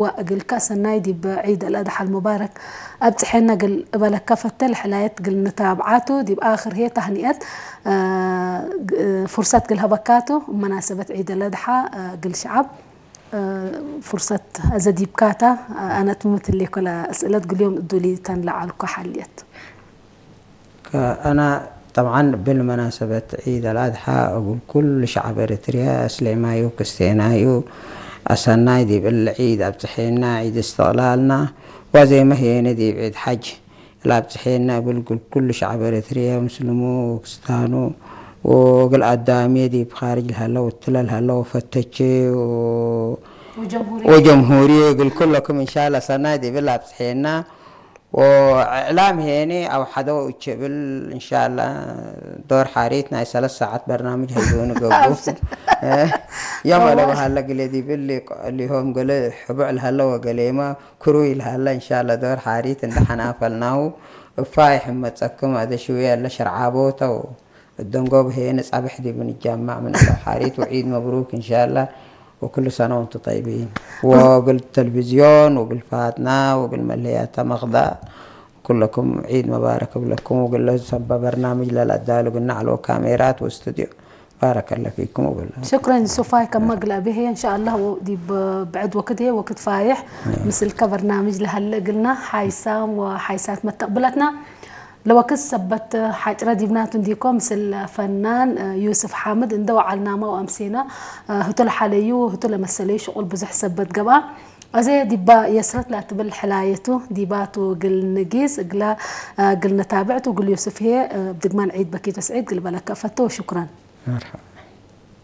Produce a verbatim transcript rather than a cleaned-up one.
ወእግልከ ሰናይ ዲብ ዒድ አልአድሓ አልሙባረክ አብጽሐነ እግል እበለከ ፈቴ። ለሕላየት እግል ንታብዓ ቱ። ዲብ አክር ህዬ ተህኒአት፣ አ፣ ግ-፣ ፉርሰት እግል ሀበካ ቱ። መናሰበት ዒድ አልአድሓ፣ አ፣ እግል ሸዐብ፣ አ፣ ፉርሰት አዘ ዲብካታ፣ አ፣ አነ ትምትሌኮ ለአስእለት እግል ዮም እዱሊ ተን ለዐልኮ ሐልየት። ከአነ ጠብዓን እብል መናሰበት ዒድ አልአድሓ እግል ኩሉ ሸዐብ ኤረትርያ፣ እስሌማዩ፣ ክስቴናዩ፣ አሰናይ ዲብ እሊ ዒድ አብጽሐነ፣ ዒድ እስትቅላልና፣ ዋዜመ ህዬነ ዲብ ዒድ ሐጅ ለአብጽሐነ እብል እግል ኩሉ ሸዐብ ኤረትርያ፣ ምስልሙ ወክስታኑ ወእግል አዳምየ ዲብ ካርጅ ለሀለ ወእትለ ለሀለ ወፈተቼ ወ-፣ ወጀምሁርየ። ወጀምሁርየ እግል ኩለኩም እንሻላ ሰናይ ዲብ እሊ አብጽሐነ። ወእዕላም ሄኒ አውሐደው እቼ እብል፣ እንሻላ ዶር ሐሪት ናይ ሰለስ ሳዐት በርናምጅ ህልቡኒ ገብኡ። አብሽር። እ፣ የመ ወላሂ። ለበሀለ ግሌ ዲብ እሊ ሊሆም ገሌ ሕቡዕ ለሀለ ወገሌመ ክሩይ ለሀለ፣ እንሻላ ዶር ሐሪት እንዴ ሐናፈልናሁ፣ እፋይ ሕመጸክም አዜ ሽውየ እለ ሸርዓቦተው። እደንጎብ ህዬ ንጸብሕ ዲብ ንጃማዕ ምን እለ ሐሪት ወዒድ መብሩክ እንሻላ ወኩሉ ሰነ ወንቱ ጠይቢን። ወእግል ተልቪዝዮን ወእግል ፋትና ወእግል መለያታ መክዳ ኩለኩም ዒድ መባረክ እብለኩም ወእግለ ሰበ በርናምጅ ለለአዳሉ ግና ዐለው ካሜራት ወእስትድዮ ባረከለ ፊኩም እብል። ሽክረን ሱፋይ ከመ እግለ አቤ ህዬ እንሻአላህ ወዲብ ብዕድ ወክድ ህዬ ወክድ ፋይሕ ምስልከ በርናምጅ ለሀለ እግልና ሓይሳም ወሓይሳት መተቅብለትና። ለወክድ ሰበት ሐጭረ ዲብናቱ እንዲኮ፣ ምስል ፈናን ዩስፍ ሓምድ እንደ ወዓልናመ ወአምሴነ፣ ህቱ ለሐለዩ ህቱ ለመሰለዩ ሽቁል ብዙሕ ሰበት ገብአ። አዜ ዲባ የስረት ለትብል ሕላየቱ ዲባቱ እግል ንጊስ እግለ፣ እግል ነታብዕቱ እግል ዩስፍ ህዬ፣ እብ ድግማን ዒድ በኪት ወስዒድ እግል በለከ እፈቱ ወሹክረን። መርሐባ።